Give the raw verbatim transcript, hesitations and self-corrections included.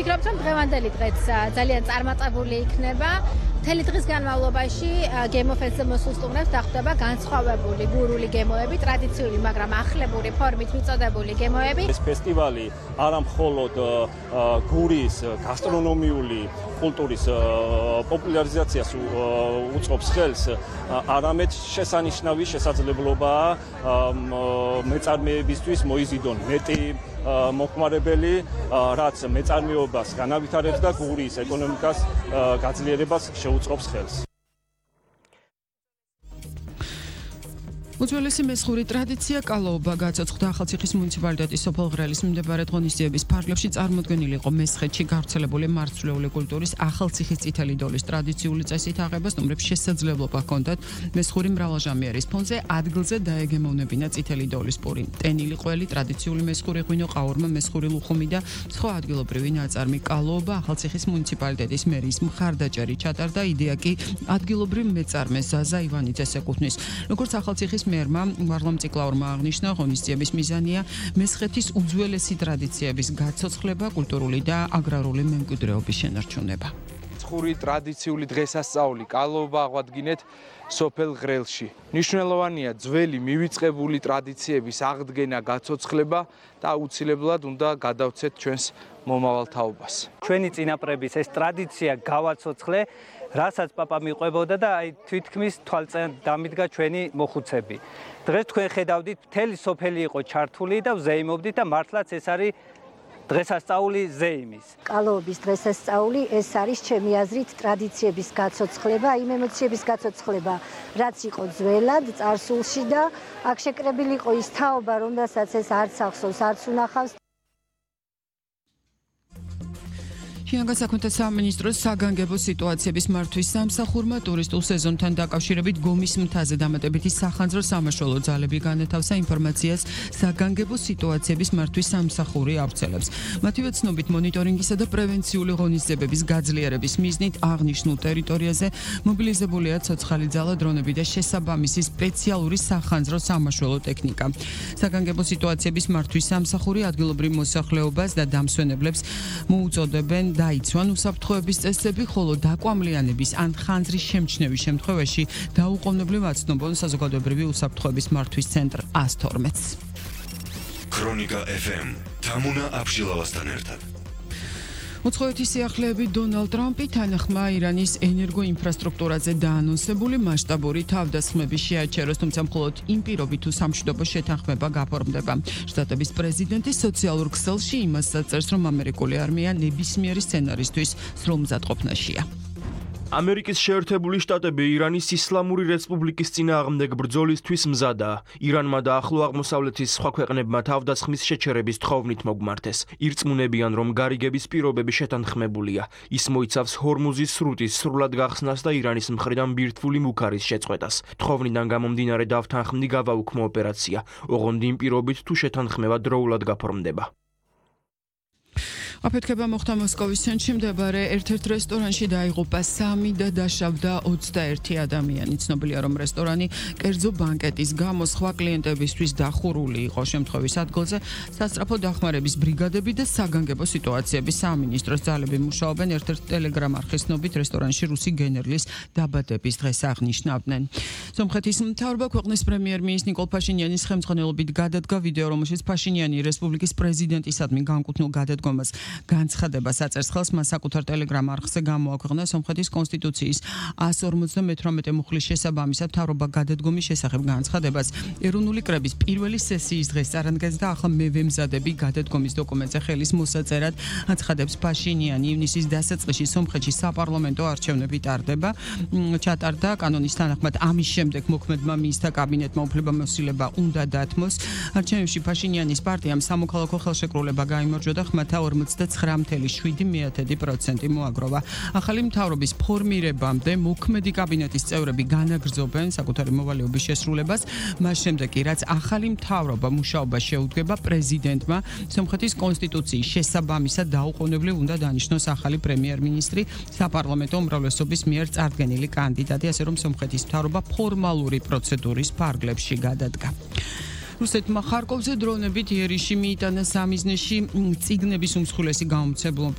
ვფიქრობთ, რომ დღევანდელი დღეც ძალიან წარმატებული იქნება. მთელი დღის განმავლობაში Game of Thrones მოსულ სტუმრებს დახვდება განსხვავებული გურული გემოები, ტრადიციული, მაგრამ ახლებური ფორმით მიწოდებული გემოები. ეს ფესტივალი არა მხოლოდ გურის გასტრონომიული კულტურის პოპულარიზაციას უწყობს ხელს, არამედ შესანიშნავი შესაძლებლობაა მეწარმეებისთვის მოიზიდონ მეტი მოხმარებელი, რაც მეწარმეობას განავითარებს და გურის ეკონომიკას გაძლიერებას შეუწყობს ხელს. უძველესი მესხური ტრადიცია კალოობა გაცოცხლდა ახალციხის მუნიციპალიტეტის სოფელ ღრელის მიმდებარე ღონისძიების ფარგლებში წარმოდგენილი იყო მესხეთში გავრცელებული მარცვლეული კულტურის ახალციხის წითელი დოლის ტრადიციული წესით აღება სტუმრებს შესაძლებლობა ჰქონდათ მესხური მრავალჟამიერის ფონზე ადგილზე დაეგემოვნებინა წითელი დოლის პური, ტენილი ყველი, ტრადიციული მესხური ღვინო, ყაურმა, მესხური ლუხუმი და სხვა ადგილობრივი ნაწარმი. კალოობა ახალციხის მუნიციპალიტეტის მერის მხარდაჭერი ჩატარდა, იდეა კი ადგილობრივ მეწარმე ზაზა ივანიძეს ეკუთვნის. როგორც ახალციხის მერმა ვარლამ ციკლაურმა აღნიშნა, ღონისძიების მიზანია მესხეთის უძველესი ტრადიციების გაცოცხლება, კულტურული და აგრარული მემკვიდრეობის შენარჩუნება. მესხური ტრადიციული დღესასწაული კალოობა აღვადგინეთ სოფელ ღრელში. მნიშვნელოვანია ძველი მივიწყებული ტრადიციების აღდგენა, გაცოცხლება და აუცილებლად უნდა გადავცეთ ჩვენს მომავალ თაობას. ჩვენი წინაპრების ეს ტრადიცია გავაცოცხლე, რასაც პაპა მიყვებოდა და აი თვითქმის თვალწინ დამიდგა ჩვენი მოხუცები. დღეს თქვენ ხედავდით, მთელი სოფელი იყო ჩართული და ვზეიმობდით და მართლაც ეს არის დღესასწაული ზეიმის. კალოობის დღესასწაული ეს არის ჩემი აზრით ტრადიციების გაცოცხლება, იმ ემოციების გაცოცხლება, რაც იყო ძველად წარსულში და აქ შეკრებილი იყო ის თაობა, რომელსაც ეს არც ახსოვს, არც უნახავს. შინაგან საქმეთა სამინისტროს საგანგებო სიტუაციების მართვის სამსახურმა ტურისტულ სეზონთან დაკავშირებით გომის მთაზე დამატებითი სახანძრო სამაშველო ძალები განათავსა ინფორმაციას საგანგებო სიტუაციების მართვის სამსახური ავრცელებს. მათივე ცნობით მონიტორინგისა და პრევენციული ღონისძიებების გაძლიერების მიზნით აღნიშნულ ტერიტორიაზე მობილიზებულია ცოცხალი ძალა, დრონები და შესაბამისი სპეციალური სახანძრო სამაშველო ტექნიკა. საგანგებო სიტუაციების მართვის სამსახური ადგილობრივ მოსახლეობას და დამსვენებლებს მოუწოდებენ დაიცვან უსაფრთხოების წესები, ხოლო დაკვამლიანების ან ხანძრის შემჩნევის შემთხვევაში დაუყოვნებლივ აცნობონ საზოგადოებრივი უსაფრთხოების მართვის ცენტრ ას თორმეტს. ქრონიკა ეფ ემ თამუნა აბშილავასთან ერთად. უცხოეთის სიახლეები დონალდ ტრამპი თანახმა ირანის ენერგოინფრასტრუქტურაზე დაანონსებული მასშტაბური თავდასხმების შეაჩეროს, თუმცა მხოლოდ იმ პირობით თუ სამშვიდობო შეთანხმება გაფორმდება. შტატების პრეზიდენტი სოციალურ ქსელში იმას წერს, რომ ამერიკული არმია ნებისმიერი სცენარისთვის სრულმზადყოფნაშია. ამერიკის შეერთებული შტატები ირანის ისლამური რესპუბლიკის წინააღმდეგ ბრძოლისთვის მზადაა. ირანმა და ახლო აღმოსავლეთის სხვა ქვეყნებმა თავდასხმის შეჩერების თხოვნით მოგმართეს. ირწმუნებიან, რომ გარიგების პირობები შეთანხმებულია. ის მოიცავს ჰორმუზის სრუტის სრულად გახსნას და ირანის მხრიდან ბირთვული მუქარის შეწყვეტას. თხოვნიდან გამომდინარე დავთანხმდი გავაუქმო ოპერაცია. ოღონდ იმ პირობით თუ შეთანხმება დროულად გაფორმდება. აფეთქება მოხდა მოსკოვის ცენტრში მდებარე ერთ-ერთ რესტორანში დაიღუპა სამი და დაშავდა ოცდაერთი ადამიანი. ცნობილია, რომ რესტორანი კერძო ბანკეტის გამო სხვა კლიენტებისთვის დახურული იყო. შემთხვევის ადგილზე სასწრაფო დახმარების ბრიგადები და საგანგებო სიტუაციების სამინისტროს ძალები მუშაობენ. ერთ-ერთ ტელეგრამ არხის ცნობით რესტორანში რუსი გენერლის დაბადების დღეს აღნიშნავდნენ. სომხეთის მთავრობა ქვეყნის პრემიერ-მინისტრის ნიკოლ ფაშინიანის ხელმძღვანელობით გადადგა ვიდეო, რომელშიც ფაშინიანი რესპუბლიკის პრეზიდენტისადმი განკუთვნილ გადადგომას განცხადებას აწერს ხელს. მას საკუთარ ტელეგრამ არხზე გამოაქვეყნა სომხეთის კონსტიტუციის ას ორმოცდამეთვრამეტე მუხლის შესაბამისად მთავრობა გადადგომის შესახებ განცხადებას ეროვნული კრების პირველი სესიის დღეს წარადგენს და ახლა მე ვემზადები გადადგომის დოკუმენტზე ხელის მოსაწერად აცხადებს ფაშინიანი. ივნისის დასაწყისში სომხეთში საპარლამენტო არჩევნები ტარდება. ჩატარდა კანონის თანახმად ამის შემდეგ მოქმედმა მინისტრთა კაბინეტმა უფლებამოსილება უნდა დათმოს. არჩევნებში ფაშინიანის პარტიამ სამოქალაქო ხელშეკრულება გაიმარჯვა და ხმათა ორმოცდათხრამეტი წამსვლელი შვიდი მიათედი პროცენტი მოაგროვა. ახალი მთავრობის ფორმირებამდე მოქმედი კაბინეტის წევრები განაგრძობენ საკუთარი მოვალეობის შესრულებას, მას შემდეგ კი რაც ახალი მთავრობა მუშაობა შეუდგება პრეზიდენტმა, სომხეთის კონსტიტუციის შესაბამისად დაუყოვნებლივ უნდა დანიშნოს ახალი პრემიერ-მინისტრი, საპარლამენტო უმრავლესობის მიერ წარდგენილი კანდიდატი, ასე რომ სომხეთის მთავრობა ფორმალური პროცედურის ფარგლებში გადადგა. რუსეთმა ხარკოვზე დრონებით იერიში მიიტანა სამიზნეში წიგნების უმსხვილესი გამომცემლობის